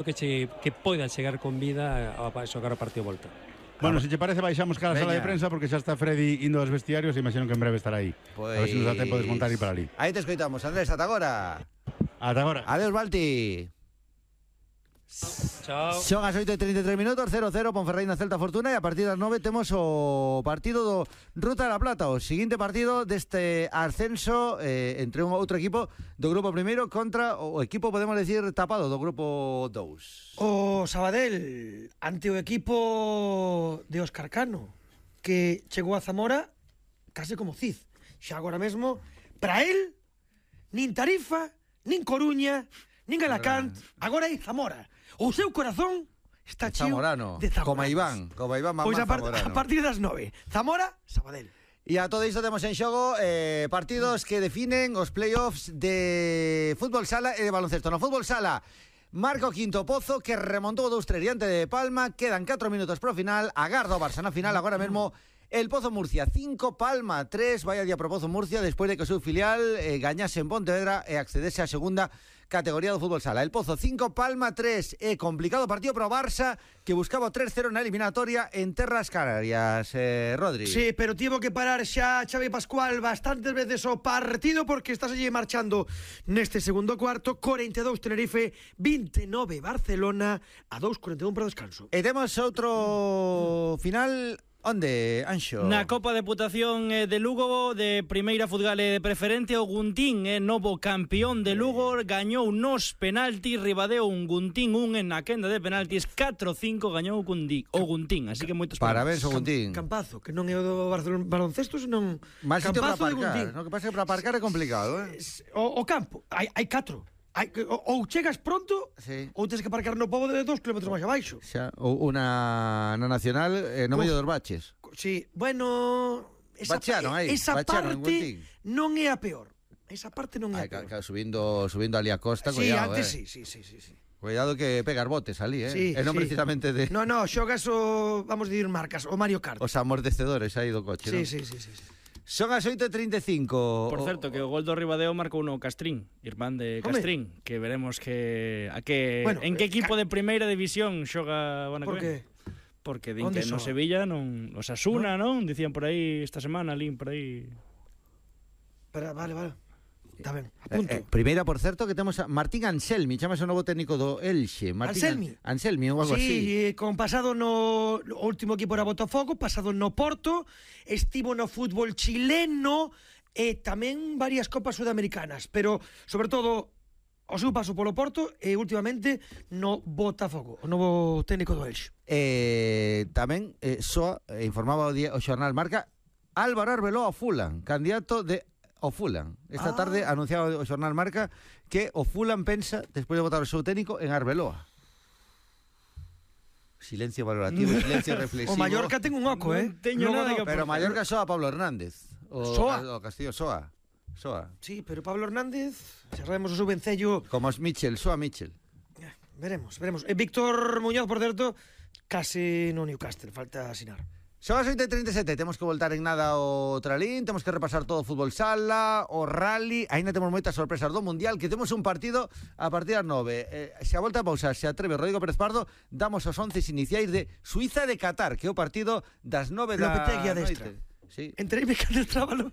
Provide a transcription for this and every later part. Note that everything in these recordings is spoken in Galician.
que poida chegar con vida a xogar o partido volta. Bueno, se te parece, baixamos cada sala de prensa porque xa está Freddy indo aos vestiarios e imagino que en breve estará aí. Pues... A ver se nos dá tempo de desmontar e ir para ali. Aí te escoitamos, Andrés, ata agora. Ata agora. Adeus, Balti. Chao. Son as 8:33 minutos, 0-0 Ponferradina Celta Fortuna, e a partir das 9 temos o partido do Ruta da Plata, o seguinte partido deste ascenso entre un outro equipo do grupo primeiro contra o equipo, podemos decir, tapado do grupo 2. O Sabadell ante o equipo de Óscar Cano, que chegou a Zamora case como Cid. Xa agora mesmo, para él, nin Tarifa, nin Coruña, nin Alacant, agora é Zamora. O seu corazón está cheo de Zamora. Como Iván Mamá pois Zamorano. A partir das 9, Zamora, Sabadell. E a todo isto temos en xogo partidos que definen os playoffs de fútbol sala e de baloncesto. No fútbol sala, marca o quinto Pozo, que remontou 2-3 diante de Palma. Quedan 4 minutos pro final. Agarda o Barça na final agora mesmo. El Pozo Murcia 5, Palma 3. Vaya día pro Pozo Murcia despois de que o seu filial gañase en Pontevedra e accedese á segunda categoría do fútbol sala. El Pozo 5, Palma 3. É complicado partido pro Barça, que buscaba o 3-0 na eliminatoria en terras canarias. Rodri. Sí, pero tivo que parar xa Xavi Pascual bastantes veces o partido porque está seguir marchando neste segundo cuarto. 42 Tenerife, 29 Barcelona, a 2:41 para o descanso. E temos outro final. Onde, Anxo? Na Copa Deputación de Lugo, de primeira futgal de preferente, o Guntín, novo campeón de Lugo, gañou nos penaltis, ribadeu un Guntín, na quenda de penaltis, 4-5 gañou o Guntín, así que moitos parabéns ao Guntín. Campazo, que non é o do Barcelona baloncesto, senón máis sitio para Campazo de aparcar. Guntín. No, que pasa que para aparcar é complicado, O campo, hai 4. Ou chegas pronto, sí, ou tens que aparcar no pobo de 2 km máis abaixo. Xa, ou na nacional no medio dos baches. Sí, bueno, esa parte non é a peor. Esa parte non é a peor. Subindo ali a costa, sí, cuidado, antes sí. Cuidado que pegar botes ali, Sí, e non precisamente de... No, xogas o, vamos a dir marcas, o Mario Kart. Os amortecedores aí do coche, non? Sí. Son as 8:35. Por certo, que o gol do Ribadeo marcou no Castrín, irmán de Castrín, que veremos bueno, en que equipo de primeira división xoga o ano que ven. Porque din que no Sevilla non, os Asuna, non? Dicían por aí esta semana, lín por aí. Pero vale. Está ben, apunto. Primeira, por certo, que temos a Martín Anselmi, chamase o novo técnico do Elxe. Anselmi ou algo así. Sí, con pasado no último equipo era Botafogo, pasado no Porto, estivo no fútbol chileno e tamén varias copas sudamericanas, pero sobre todo o seu paso polo Porto e últimamente no Botafogo, o novo técnico do Elxe. Tamén soa informaba o xornal Marca Álvaro Arbeloa ao Fulham, candidato de o Fulham. Esta tarde anunciaba o xornal Marca que o Fulham pensa, despois de votar o seu técnico, en Arbeloa. Silencio valorativo, silencio reflexivo. O Mallorca ten un oco, teño nada que pero Mallorca soa Pablo Hernández. O Castillo soa. Sí, pero Pablo Hernández, se sabemos o seu vencello... Como os Mitchell, soa Mitchell. Veremos. E Víctor Muñoz, por certo, case no Newcastle, falta asinar. Son as 8:37, temos que voltar en nada ao Tralín, temos que repasar todo o fútbol sala, o rally, aínda temos moitas sorpresas do Mundial, que temos un partido a partir das 9. Se a volta a pausar, se atreve Rodrigo Pérez Pardo, damos os 11 iniciais de Suiza de Qatar, que é o partido das 9 da Lopetegui a destra. Sí. Entreime que adestrábalo.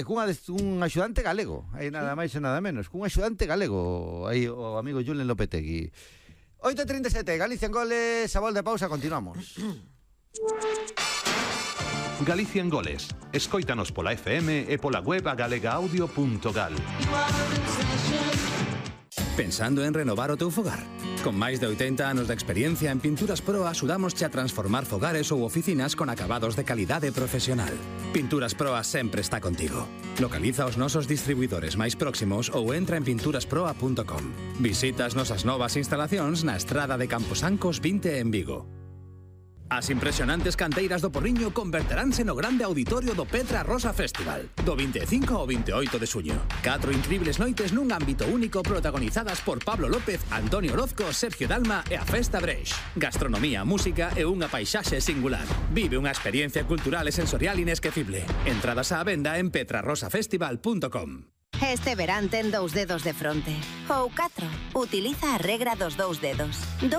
Cun axudante galego, aí nada máis e nada menos, cun axudante galego, aí o amigo Julen Lopetegui. 8:37, Galicia en goles, a volta de pausa, continuamos. Galicia en goles. Escóitanos pola FM e pola web agalegaudio.gal. Pensando en renovar o teu fogar? Con máis de 80 anos de experiencia en Pinturas Pro axudamosche a transformar fogares ou oficinas con acabados de calidade profesional. Pinturas Proa sempre está contigo. Localiza os nosos distribuidores máis próximos ou entra en pinturasproa.com. Visita as nosas novas instalacións na Estrada de Camposancos 20 en Vigo. As impresionantes canteiras do Porriño converteránse no grande auditorio do Petra Rosa Festival, do 25 ao 28 de suño. 4 incribles noites nun ámbito único protagonizadas por Pablo López, Antonio Orozco, Sergio Dalma e a Festa Breix. Gastronomía, música e unha paisaxe singular. Vive unha experiencia cultural e sensorial inesquecible. Entradas á venda en petrarosafestival.com. Este verán ten 2 dedos de fronte. Ou 4. Utiliza a regra dos 2 dedos.